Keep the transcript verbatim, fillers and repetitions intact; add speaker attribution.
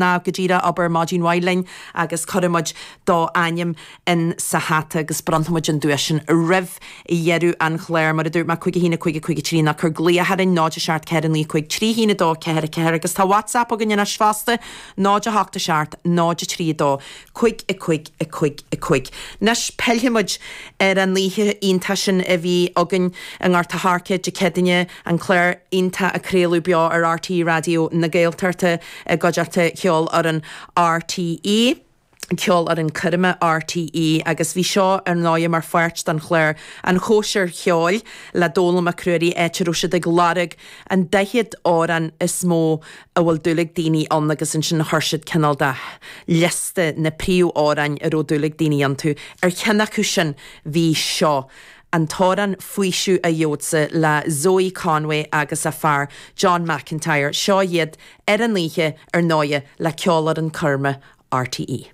Speaker 1: Ná go díreach abair maidin mhaith linn agus cuirfidh muid do ainm in sa hata agus bronnfaidh muid an duais sin roimh dheireadh an chláir. Mar a dúirt mé, cúig a haon a cúig a cúig a trí ná cuir glaoch orainn, náid a seacht ceathair naoi cúig trí haon a dó ceathair a ceathair agus tá WhatsApp againn anois fosta, náid a hocht a seacht náid a trí a dó cúig a cúig a cúig a cúig. Anois pillfidh muid ar an oíche iontach sin a bhí againn i nGort a' Choirce Dé Céadaoine, an clár iontach a craoladh beo ar R T E Raidió na Gaeltachta i gcuideachta Cheolfhoireann R T E. Ceolfhoireann Coirme R T E agus bhí seo ar ndóigh mar pháirt den chlár An Chóisir Cheoil le Dónall Mac Ruairí, áit a raibh siad ag lorg an daichead amhrán is mó a bhfuil dúil ag daoine ann agus ansin chuir siad cineál de liosta na príomhamhráin a raibh dúil ag daoine iontu. Ar cheann acu sin bhí seo, an t-amhrán Faoiseamh a Gheobhadsa le Zoe Conway agus a fear John McIntyre. Seo iad ar an oíche ar ndóigh le Ceolfhoireann Coirme R T E.